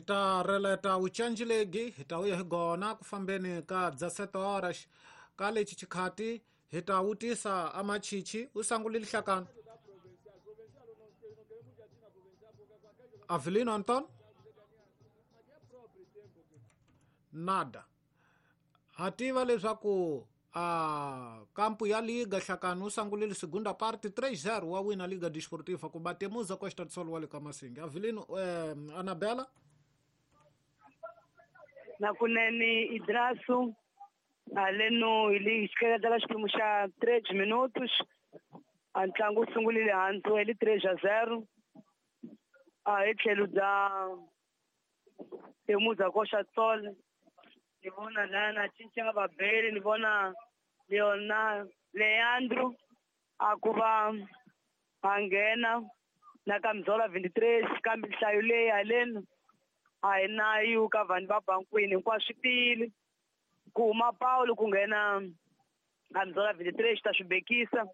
Ta releta wucanjilegi hi ta vuya hi gona ku fambeni ka 17 horas ka lexi xikhati hi ta wutisa amachichi u sangulile hlakana Avelino Anton nada ha tiva leswaku a kampu ya liga hlakani u sangulile segunda parte 3-0 wa wina Liga Desportiva ku batemuza Costa do Sol wa le ka Masingi. Avelino Anabela nakunene Idrasu haleno hi le xikeletela xiphemu xa 3 minutos a ntlangu wu sungulile hansi hi li 3-0 a hi tlhelo bya Temuza Costa do Sol. Ni vona lana cinca vabeli, ni vona Leona Leandro a ku va a nghena na Kamzola 23 kambe nhlayo leyi haleni a hi na yu ka vanhu va bankwini hinkwaswo swi tiyile ku huma Paulo ku nghena Kamzola 23 ta swi bekisa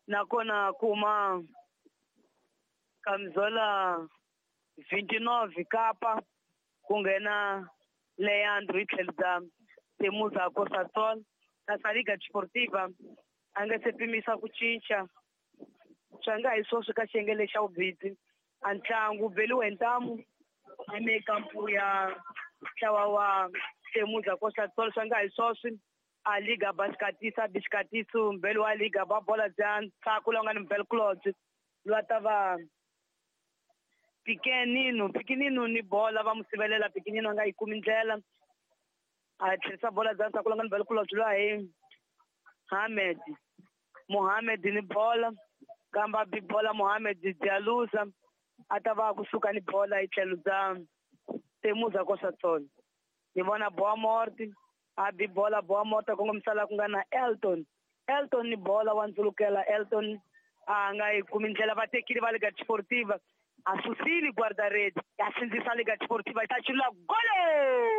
nakona ku huma Kamzola 29 Kapa ku nghena Leandro hi tlhelo bya Temuza Costa do Sol. Kasi Liga Desportiva a nga se pimisa ku cinca swa nga hi swoswi ka xiyenge lexa vubidzi a ntlangu beliwe hi ntamu emikampu ya ntlawa wa Temuza Costa do Sol. Swa nga hi swoswi a Liga Basikatisa Bisikatiso mbeli wa Liga ba bola bya ntshaku lowu nga ni Mbel Claude lwa ta va Pikenino Pikenino ni bola va mu sivelela Pikenino a nga yi kumi ndlela a tlherisa bola bya ntshaku lowu nga ni Mbel Claude lwa hi Hamed Mohamed ni bola kamba bi bola Mohamed Dialuza a ta va kusuka ni bola hi tlhelo bya Temuza Costa do Sol. Ni vona Boa Morte a bi bola Boa Morte kongomisa la ku nga na Elton Elton ni bola wa ndzulukela Elton a nga yi kumi ndlela va tekile va Liga Desportiva a susile guarda-rede a sindzisa Liga Desportiva yi ta chulula gole.